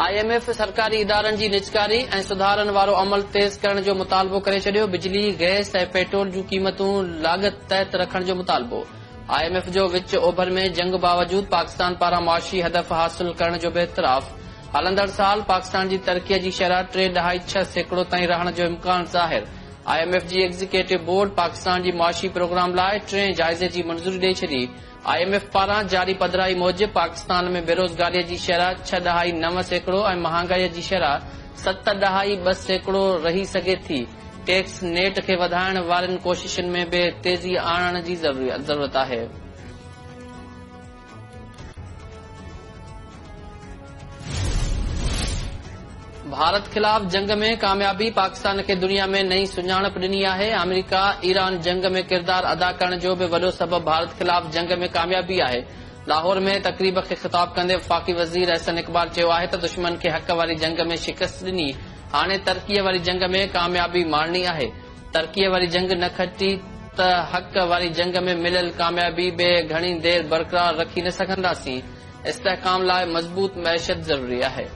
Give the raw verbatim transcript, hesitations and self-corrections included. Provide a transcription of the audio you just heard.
I M F سرڪاري ادارن جي نجڪاري ۽ سڌارن وارو عمل تيز ڪرڻ جو مطالبو ڪري ڇڏيو. بجلي، گئس ۽ پيٽرول جون قيمتون لاڳت تحت رکڻ جو مطالبو. I M F جو وچ اوڀر ۾ جنگ باوجود پاڪستان پاران معاشي هدف حاصل ڪرڻ جو به اعتراف. هلندڙ سال پاڪستان جي ترقي جي شرح ٽي ڏهائي ڇهه سيڪڙو تائين رهڻ جو امڪان ظاهر. I M F جي ايگزيڪيوٽو بورڊ پاڪستان جي معاشي پروگرام لاء ٽئين جائزي جي منظوري ڏئي ڇڏي. I M F پاران جاري پڌرائي موجب پاڪستان ۾ بيروزگاري جي شرح ڇهه ڏهائي نو سيڪڙو ۽ مهانگائي جي شرح ست ڏهائي ٻه سيڪڙو رهي سگهي ٿي. ٽيڪس نيٽ کي وڌائڻ وارين ڪوششن ۾ به تيزي آڻڻ جي ضرورت آهي. ڀارت خلاف جنگ ۾ ڪاميابي پاڪستان کي دنيا ۾ نئين سڃاڻپ ڏني آهي. آمريڪا ايران جنگ ۾ ڪردار ادا ڪرڻ جو به وڏو سبب ڀارت خلاف جنگ ۾ ڪاميابي آهي. لاهور ۾ تقريب کي خطاب ڪندي وفاقي وزير احسن اقبال چيو آهي ته دشمن کي حق واري جنگ ۾ شڪست ڏني، هاڻي ترقيءَ واري جنگ ۾ ڪاميابي ماڻڻي آهي. ترقيءَ واري جنگ نه کٽي ته حق واري جنگ ۾ مليل ڪاميابي به گهڻي دير برقرار رکي نه سگهنداسين. استحڪام لاءِ مضبوط معيشت ضروري آهي.